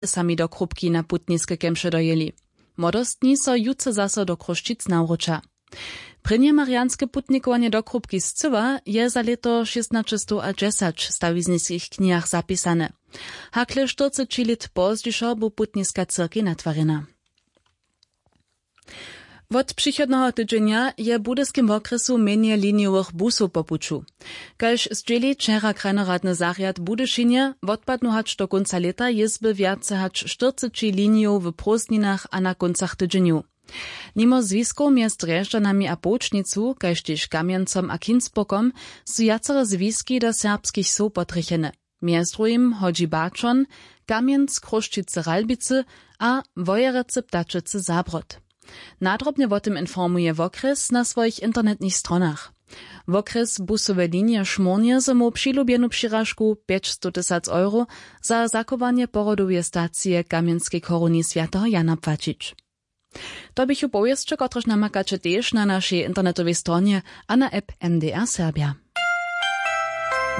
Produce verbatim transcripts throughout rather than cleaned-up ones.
sami do krupki na putniske kemše dojěli. Młodostni so jutře zaso do Chrósćic nawróća. Prěnje marianske putnikowanje do krupki scyła je za lěto šěstnaćestowdźesać w stawizniskich knihach zapisane. Hakle štyrceći lět pozdźišo bu putniska cyrkej natwarjena. Wot přichodneho tydźenja je w budyskim wokrjesu mjenje linijowych busow po puću. Kaž zdźěli wčera krajnoradny zarjad w budyšinje, wotpadnu hač do kónca lěta jězby wjace hač štyrceći linijow w prózdninach a na kóncach tydźenjow. Nimo zwiskow mjez drježdźanami a połčnicu kaž tež kamjencom a kinsburgom su wjacere zwiski do serbskich wsow potrjechene. Mjez druhim hodźi baćon, kamjenc chrósćicy ralbicy a wojerecy ptačecy zabrod. Nadrobnje wo tym informuje wokrjes na swojich internetnych stronach. Wokrjes busowe linije šmórnje zo móhł přilubjenu přiražku pjećstotysac euro za zachowanje porodoweje stacije kamjenskej choruni swjateho jana płaćić. To běchu powěsće kotrež namakaće tež na našej internetowej stronje a na app mdr serbja.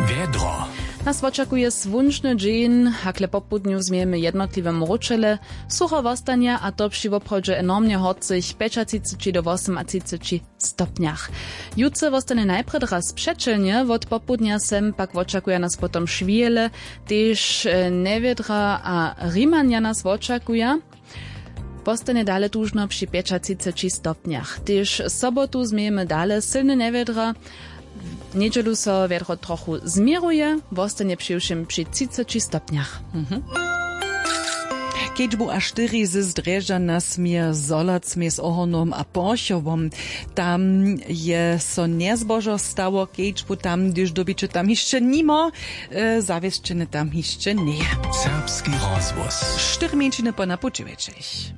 Wjedro. Nas wočakuje słónčny dźeń, hakle popołdnju změjemy jednotliwe mróčele, sucho wostanje a to při woprawdźe enormnje horcych pjećatřiceći do wosomatřiceći stopnjach. Jutře wostanje najprjedy raz přećelnje, wot popołdnja sem pak wočakuja nas potom šwihele, tež e, njewjedra a rimanja nas wočakuja. Wostanje dale tužno při pjećatřiceći stopnjach. Tež sobotu změjemy dale sylne njewjedra. Njedźelu so wjedro trochu změruje, wostanje přiwšěm při třiceći stopnjach. Kedźbu a štyri z drježdźa nasměr zolac mjez ohornom a porchowom. Tam je so njezbožo stało, kedźbu tam hdyž dyrbiće tam hišće nimo, e, zawěsćene tam hišće njeje. Serbski rozhłos. Štyri mjeńšiny po napućiwjećich.